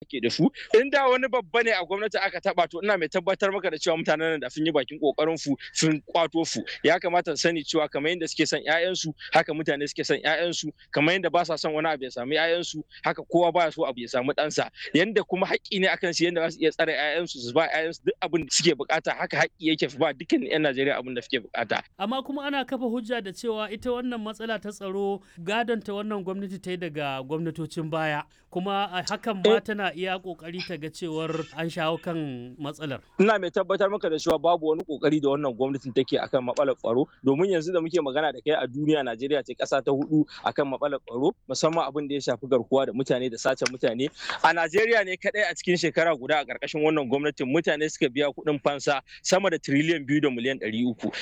ake da su. Inda wani babba ne a gwamnati aka taba, to ina mai tabbatar maka da cewa mutanen nan da sun yi bakin kokarin su sun kwato su. Ya kamata su sani cewa kamar yadda suke son ƴaƴansu, haka mutane suke son ƴaƴansu. Kamar yadda ba sa son wani abu ya samu ƴaƴansu, haka kowa baya so abu ya samu ɗansa. Yanda kuma haƙƙi ne akan su yanda za su iya tsare ƴaƴansu, su ba ƴaƴansu duk abin da suke bukata, haka haƙƙi yake ba dukkan ƴan Najeriya abin da suke bukata. Amma kuma ana kafa hujja da cewa ita wannan matsala ta tsaro gadon ta wannan gwamnati ta yi daga gwamnatocin baya, kuma a hakan ma tana iya kokari ta ga cewar an shawo kan matsalar. Ina mai tabbatar maka da cewa babu wani kokari da wannan gwamnatin take akan matsalar tsaro, domin yanzu da muke magana da kai a duniya, Najeriya ce kasa ta hudu akan matsalar tsaro, musamman abin da ya shafi garkuwa da mutane da sace mutane. A Najeriya ne kadai a cikin shekara guda a karkashin wannan gwamnatin mutane suka biya kuɗin fansa sama da 2.3 tiriliyan.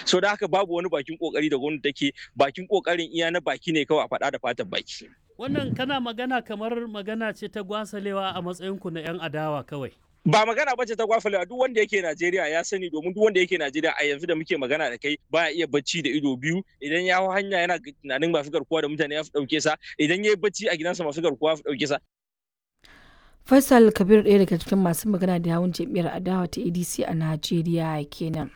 So da haka babu wani bakin kokari da gwamnati take. Bakin kokarin iya na baki ne kawai, a faɗa da fatan baki. Wannan kana magana kamar magana ce ta gwasalewa a matsayinku na 'yan adawa kawai. Ba magana bace ta gwafalewa. Duk wanda yake Najeriya ya sani, domin duk wanda yake Najeriya a yanzu da muke magana da kai baya iya bacci da ido biyu. Idan ya hau hanya yana tunanin masu garkuwa da mutane ya fi dauke sa. Idan ya yi bacci a gidansa, masu garkuwa fi dauke sa. Faisal Kabir, ɗaya daga cikin masu magana da yawun jam'iyyar adawa ta ADC a Najeriya kenan.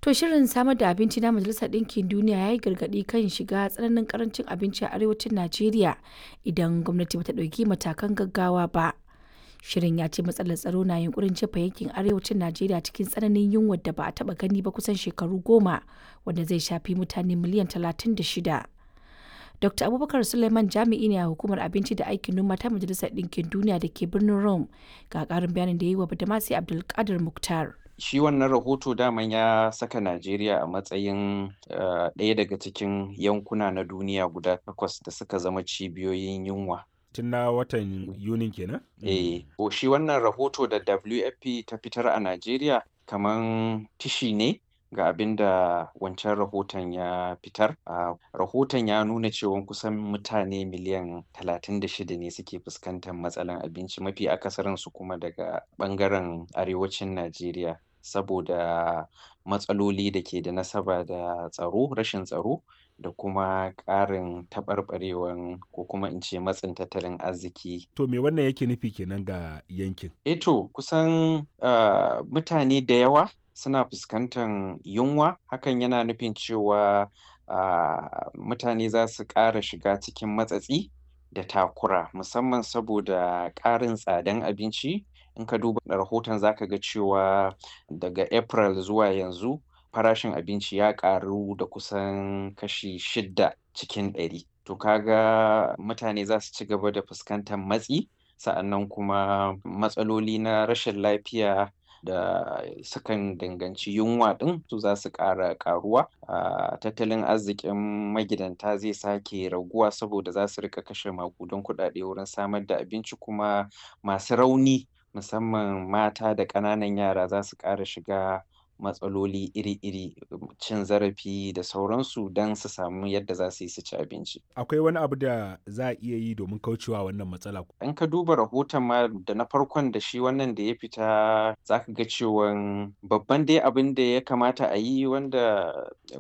To, shirin samar da abinci na Majalisar Ɗinkin Duniya ya yi gargaɗi kan shiga tsananin karancin abinci a arewacin Najeriya idan gwamnati bata ɗauki matakan gaggawa ba. Shirin ya ce matsalar tsaro na yunkurin jefa yankin arewacin Najeriya cikin tsananin yunwar da ba a taɓa gani ba kusan shekaru 10, wanda zai shafi mutane miliyan 36. Dr. Abubakar Suleiman jami'i ne a hukumar abinci da aikin noma ta Majalisar Ɗinkin Duniya da ke birnin Rome. Ga ƙarin bayanin da ya yi wa Badamasi Abdulkadir Muktar. Shi wannan rahoto daman ya saka Najeriya a matsayin ɗaya daga cikin yankuna na duniya guda takwas da suka zama cibiyoyin yunwa. Tun na watan Yunin kenan? Eh, shi wannan rahoto da WFP ta fitar a Najeriya kaman tishi ne ga abin da wancan rahoton ya fitar. Rahoton ya nuna cewa kusan mutane miliyan 36 ne suke fuskantar matsalan abinci, mafi akasarinsu kuma daga ɓangaren arewacin Najeriya, saboda matsaloli da ke da nasaba da tsaro, rashin tsaro da kuma ƙarin taɓarɓarewan ko kuma in ce matsin tattalin arziki. To, me wannan yake nufi kenan ga yankin? Eh to, kusan mutane da yawa suna fuskantar yunwa. Hakan yana nufin cewa mutane za su ƙara shiga cikin matsatsi da takura, musamman saboda ƙarin tsadan abinci. In ka duba rahoton, za ka ga cewa daga April zuwa yanzu farashin abinci ya ƙaru da kusan kashi 6%. To, ka ga mutane za su ci gaba da fuskantar matsi, sa'annan kuma matsaloli na rashin lafiya da sukan danganci yunwa ɗin su za su ƙara ƙaruwa. Tattalin arzikin magidanta zai sake raguwa saboda za su riƙa kashe maƙudan kuɗaɗe wurin samar da abinci, kuma masu rauni, musamman mata da ƙananan yara, za su ƙara shiga matsaloli iri-iri, cin zarafi da sauransu, don su samu yadda za su yi su ci abinci. Akwai wani abu da za a iya yi domin kaucewa wannan matsala? In ka duba rahoton ma, da na farkon da shi wannan da ya fita, za ka ga cewan babban dai abin da ya kamata a yi, wanda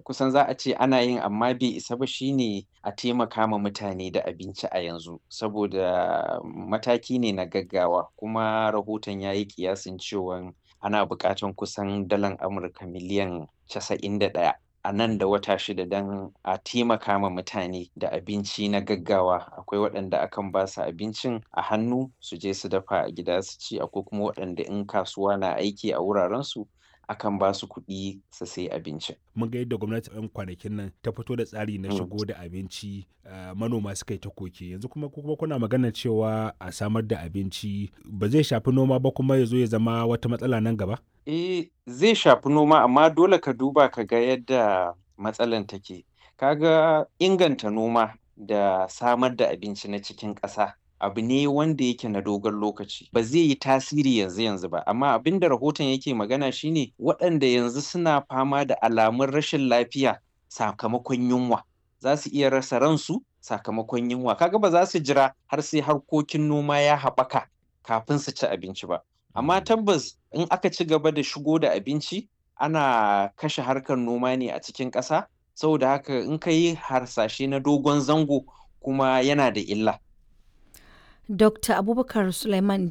kusan za a ce ana yin amma bai isa ba, shine a taimaka ma mutane da abinci a yanzu, saboda mataki ne na gaggawa. Kuma rahoton ya yi ƙiyasin cewan ana buƙatan kusan dalan Amurka miliyan 91 a nan da wata 6 don a taimaka ma mutane da abinci na gaggawa. Akwai waɗanda akan ba su abincin a hannu su je su dafa a gida su ci, akwai kuma waɗanda in kasuwa na aiki a wurarensu akan ba su kuɗi su sayi abincin. Mun ga yadda gwamnati 'yan kwanakin nan ta fito da tsari na shigo da abinci, manoma suka yi ta koke. Yanzu kuma kuna magana cewa a samar da abinci, ba zai shafi noma ba kuma ya zo ya zama wata matsala nan gaba? Eh, zai shafi noma, amma dole ka duba ka ga yadda matsalan take. Ka ga inganta noma da samar da abinci na cikin ƙasa abu ne wanda yake na dogon lokaci, ba zai yi tasiri yanzu yanzu ba. Amma abin da rahoton yake magana shine waɗanda yanzu suna fama da alamun rashin lafiya sakamakon yunwa za su iya rasa ransu sakamakon yunwa. Kaga ba za su jira har sai harkokin noma ya haɓaka kafin su ci abinci ba. Amma tabbas in aka ci gaba da shigo da abinci, ana kashe harkar noma ne a cikin ƙasa. Saboda haka in ka yi harsashe na dogon zango kuma, yana da illa. Dr. Abubakar Suleiman.